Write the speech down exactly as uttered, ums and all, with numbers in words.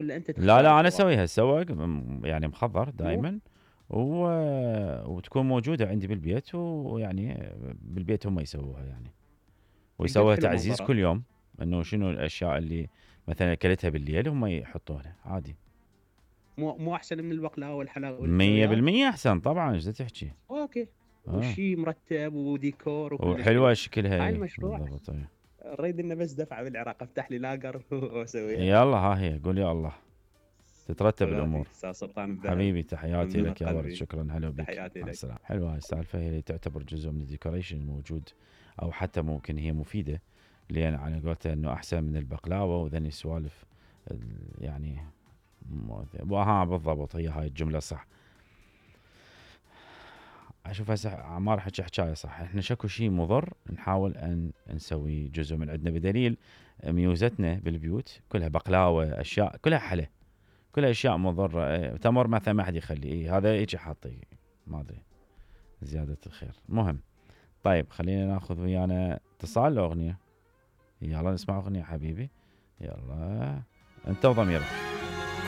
ولا انت تختار لا لا انا الفواكه؟ اسويها سوق يعني مخضر دائما و... وتكون موجوده عندي بالبيت، ويعني بالبيت هم يسووها يعني، قد ويسووها حلو تعزيز منظرها. كل يوم، انه شنو الاشياء اللي مثلا اكلتها بالليل هم يحطونها عادي. مو مو احسن من البقلاوه مية والحلويات؟ بالمية احسن طبعا، ايش تحكي. اوكي. اه وشي مرتب وديكور وكلش وحلوه حلو. شكلها هاي ايه المشروع بالضبط ايه. نريد لنا بس دفعه بالعراق، افتح لي لاجر واسويها. يلا ها هي قول يا الله، تترتب غالي الامور. استاذ سلطان الذهبي، حبيبي تحياتي من لك يا ورد، قلبي شكرا، هلا بك، تحياتي مع لك. السلامه. حلوه هاي السالفه، هي تعتبر جزء من الديكوريشن الموجود، او حتى ممكن هي مفيده، لان على قولته انه احسن من البقلاوه وذني السوالف يعني. وها بالضبط هي هاي الجمله صح. اشوف هسه عمار حكي حكايه صح، احنا شكو شيء مضر نحاول ان نسوي جزء من عندنا، بدليل ميوزتنا بالبيوت كلها بقلاوه، اشياء كلها حلا، كلها اشياء مضره. إيه، تمر مثلا ما حد يخلي، إيه هذا يجي حاطي ما ادري زياده الخير. مهم. طيب خلينا ناخذ ويانا اتصال لو اغنيه. يلا نسمع اغنيه حبيبي. يلا انت وضميرك.